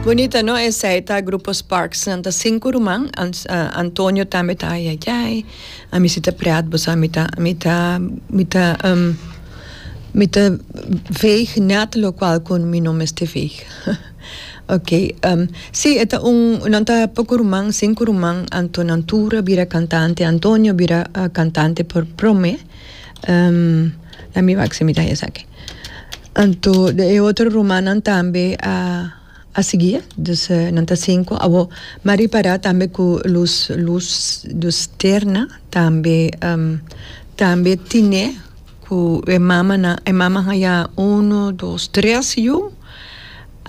Bunita no esey ta grupo Sparks nan ta cinco ruman Antonio tambe ta ayayay ami si ta pret bo sa mi ta mi ta mi ta mi ta veeg net locual cu mi no mester veeg ok si e ta un nan ta poco ruman cinco ruman anto nan tur a bira cantante Antonio a bira cantante por prome mi wak si mi ta esaki. Anto e otro rumannan tambe a a sigui, dus nan ta sinku. Awor mi a ripará tambe ku lus lus lusterna tambe tambe tine ku e mamanan e mama haña uno dos tres yu.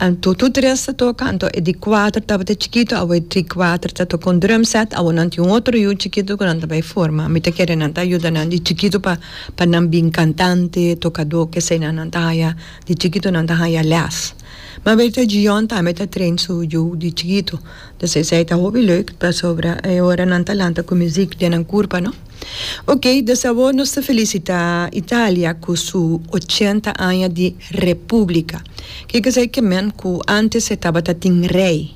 Anto tur tres ta toka, anto e di kuater tabata chikitu, awor e di kuater ta toka un drum set, awor nan tin un otro yu chikitu ku nan ta bai forma. Mi ta kere nan ta yuda nan di chikitu pa pa nan bin kantante, tokadó, kesei nan nan ta haya di chikitu nan ta haya lès. Ma Bertha Gion tambe ta train su yu di chikitu, dus esei ta hopi leuk pasobra e ora nan ta lanta ku muzik den nan kurpa no. Ok, dus awor nos ta felicita Italia cu su ochenta aña di Republica. Kico esey ke men? Cu antes e tabata tin rey.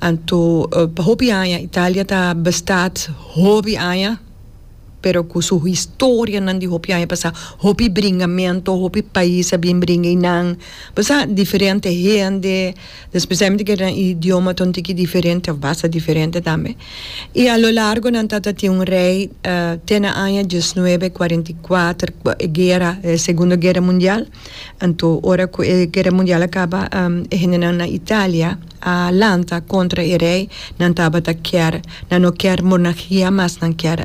Anto pa hopi aña Italia ta bestaat hopi aña, pero cu su historianan di hopi aña pasa, hopi bringamento, hopi pais a bin bringa eynan. Bo sa diferente hende. Especialmente ke nan idioma ta un tiki diferente of basta diferente tambe. I a lo largo nan tata tin un rei te na aña diesnuebe kuarenta i kuater ku e guera, e segundo guera mundial. Anto ora ku e guera mundial a kaba e hendenan na Italia a lanta kontra e rei, nan tabata kier, nan no kier monargia mas, nan kier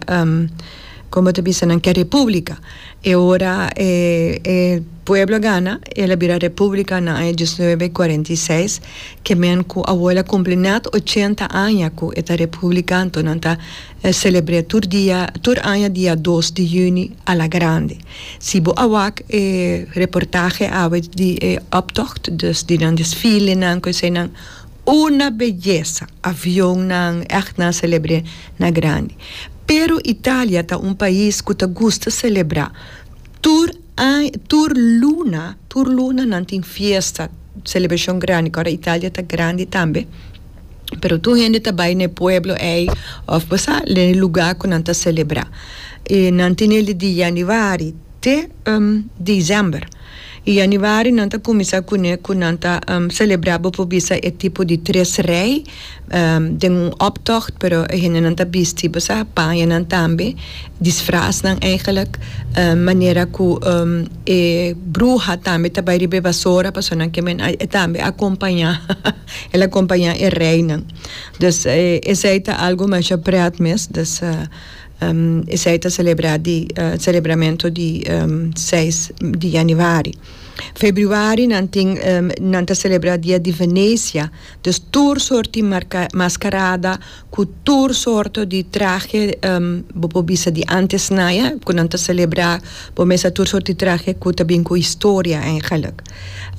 komo ta bisa nan kier republika. E ora e e pueblo a gana, el a bira republika na aña diesnuebe kuarenta i seis, ke men ku awor el a kumpli nèt ochenta aña ku e ta republika, anto nan ta selebr'é tur dia, tur aña dia dos di yüni a la grande. Si bo a wak e reportahe awe di e optocht, dus di nan desfilenan ku eseinan, Una beyesa! Avionnan ègt nan a selebr'é na grandi. Pero Italia ta un pais ku ta gusta selebrá. Tur aña, tur luna, tur luna nan tin fiesta, selebrashon grandi. Kòrda Italia ta grandi tambe. Pero tur hende ta bai na e pueblo ei òf bo sa, den e lugá ku nan ta selebrá. I nan tin el di yanüari te desèmber. I yanüari nan ta kuminsá kuné ku nan ta selebrá bo por bisa e tipo di tres rei den un optocht pero e hendenan ta bisti bo sa pañanan tambe disfrasnan eigenlijk manera ku e bruha tambe ta bai riba e basora pasobra nan ke men e tambe a kompañá el a kompañá e reinan dus esei ta algu masha pret mes dus. Esei ta selebrá di selebramentu di seis di yanüari. Februari nan tin nan ta selebrá dia di Venecia. Dus tur sort di marka maskarada ku tur sorto di trahe bo por bisa di ántes naya ku nan ta selebrá bo mesa tur sort di trahe ku ta bin ku historia eigenlik.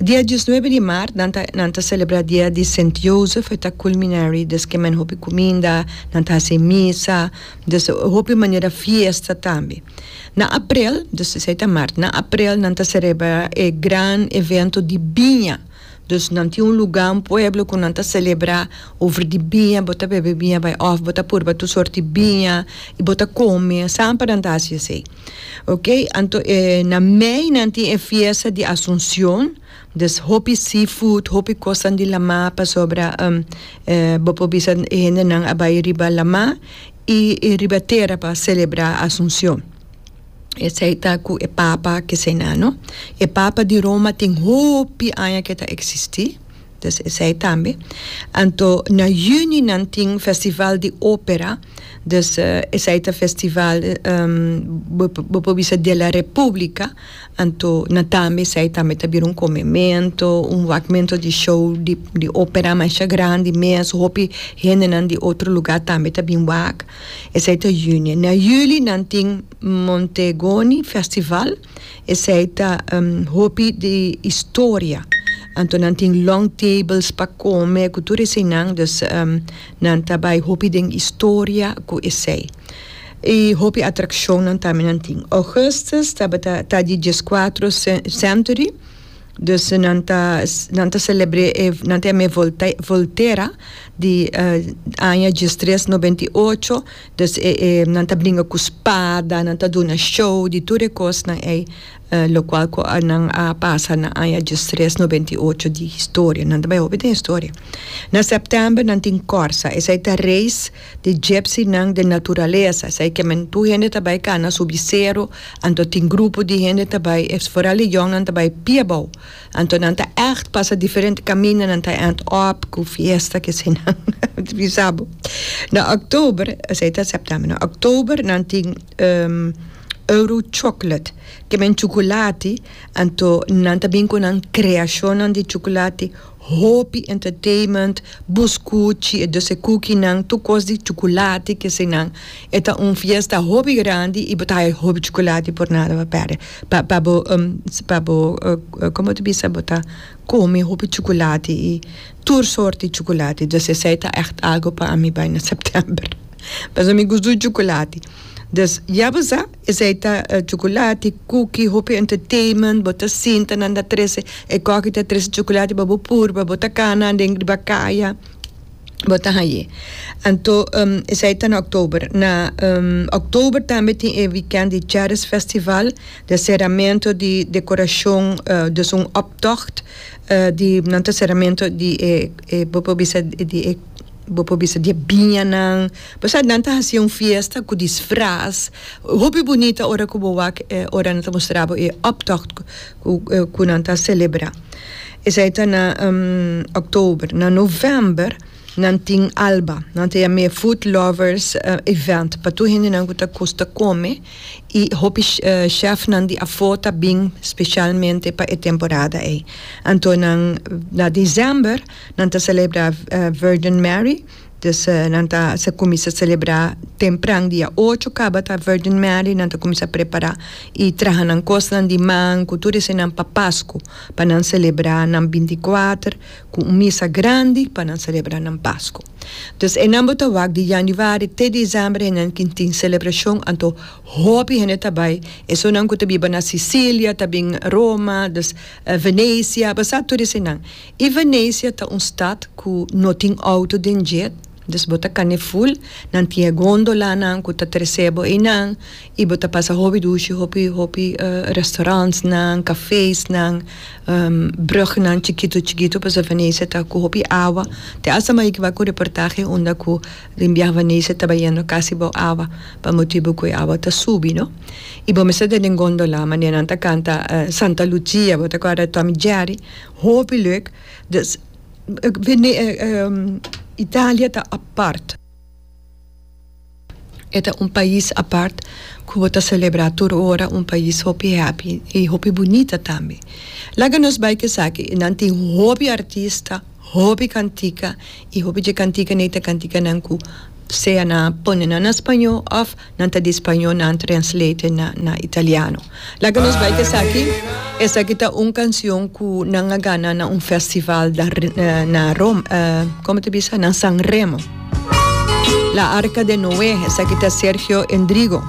Dia diesnuebe di mart nan ta nan ta selebrá dia di Sint Jozef e ta kulminary des ke men hopi kuminda nan ta hasi misa. Dus hopi manera fiesta tambe. Na aprel, dus esei ta mart, na aprel nan ta celebra e gran evento di biña. Dus nan tin un luga, un pueblo ku nan ta celebra over di biña, bo ta bebe biña bai òf bo ta purba tur sort di biña i bo ta kome, samper nan ta hasi esei. Ok, anto e na mei nan tin e fiesta di Asuncion. Dus hopi seafood, hopi kosnan di lamá pasobra bo por bisa e hendenan a bai riba lamá i riba tera pa selebrá Asunción. Esei ta ku e papa keseinan no. E papa di Roma tin hopi aña ke ta eksistí, dus esei tambe. Anto na yüni nan tin festival di ópera, dus esei ta festival bo por bisa de la república. Anto na tambe esei tambe ta bira un comemento, un wakmento di show di di opera masha grandi mes, hopi hendenan di otro lugar tambe ta bin wak. Esei ta juni. Na juli nan tin Montegoni festival, esei ta hopi di historia. Anto nan tin long tables pa come cu tur eseinan, dus nan ta bay hopi den historia cu esei. I hopi atrakshonnan tambe nan tin. Augustus tabata ta di dieskuatro century. Dus nan ta nan ta selebr'é e nan ta yam'é voltera di aña diestres nobenta i ocho. Dus e e nan ta bringa ku spada, nan ta duna show di tur e kosnan ei lokual ku nan a pasa na aña diestres nobenta i ocho di historia. Nan ta bai hopi den historia. Na sèptèmber nan tin kòrsa, esei ta reis di gypsynan den naturalesa. Esei ke men tur hende ta bai kana subi sero, anto tin grupo di hende ta bai, foral e yòngnan ta bai pia abou. Anto nan ta ègt pasa diferente kaminda, nan ta ènt òp ku fiesta kesenan. Bisa bo. Na òktober, esei ta sèptèmber, na òktober nan tin Euro Chocolate, ke men chukulati, anto nan ta bin ku nan kreashonnan di chukulati. Hopi entertainment, buskuchi, e dus e kukinan, tur kos di chukulati kesenan. E ta un fiesta hopi grandi i bo ta haya hopi chukulati por nada pa pèrdè. Pa pa bo pa bo komo ta bisa bo ta kome hopi chukulati i tur sorti chukulati. Dus esei ta ègt algu pa ami bai na sèptèmber. Pasobra mi gusta chukulati. Dus ya bo sa. Esei ta chukulati, kuki, hopi entertainment, bo ta sinta nan ta trese e koki ta trese chukulati pa bo purba, bo ta kana den riba kaya, bo ta hañ'é. Anto esei ta na oktober. Na oktober tambe tin e wikènt di Charis Festival, di seramento di dekorashon, dus un optocht di nan ta seramento di e bo por bisa di e. Bo por bisa di e biñanan. Bo sa nan ta hasi un fiesta ku disfras. Hopi bunita ora ku bo wak e ora nan ta mustra bo e optocht ku nan ta selebrá. Esei ta na òktober. Na novèmber nan tin Alba. Nan ta yam'é Food Lovers Event pa tur hendenan ku ta gusta kome i hopi chefnan di afó ta bin spesialmente pa e temporada ei. Anto nan na desèmber. Nan ta celebra Virgin Mary, dus nan ta sa cuminsa celebra tempran dia ocho caba ta Virgin Mary, nan ta cuminsa prepara y traha nan cosnan di man cu tur eseinan pa Pascu, pa nan celebra nan binti kuater cu un misa grandi pa nan celebra nan Pascu. Dus einan bo ta wak di januari te december einan kin tin celebracion anto hopi hende ta bay, esunnan cu ta biba na Sicilia ta bin Roma, dus Venecia, bo sa tur eseinan. I Venecia ta un stad ku no tin outo den dje, dus bo ta kane ful, nan tin e gondolanan ku ta trese bo einan i bo ta pasa hopi dushi, hopi hopi restaurantsnan, cafesnan, brugnan chikitu chikitu pasobra Venecia ta ku hopi awa. Te asta mi a yega ku reportahe unda ku den biaha Venecia ta bayendo kasi bou awa pa motibu ku e awa ta subi no. I bo mester ta den gondola manera nan ta kanta Santa Lucia, bo ta kòrda Tom i Jerry. Hopi leuk. Dus Italia ta apart. E ta un pais apart ku bo ta selebrá tur ora, un pais hopi happy i hopi bunita tambe. Laga nos bai ku esaki, nan tin hopi artista, hopi kantika i hopi dje kantika nei ta kantikanan ku sea nan a pone nan na spañó òf Nan ta di spañó nan translate na na italiano. Laga nos bai ku esaki. Esaki ta un kansion ku nan a gana na un festival na Roma, komo ta bisa? Na San Remo. La Arca de Noé, esaki ta Sergio Endrigo.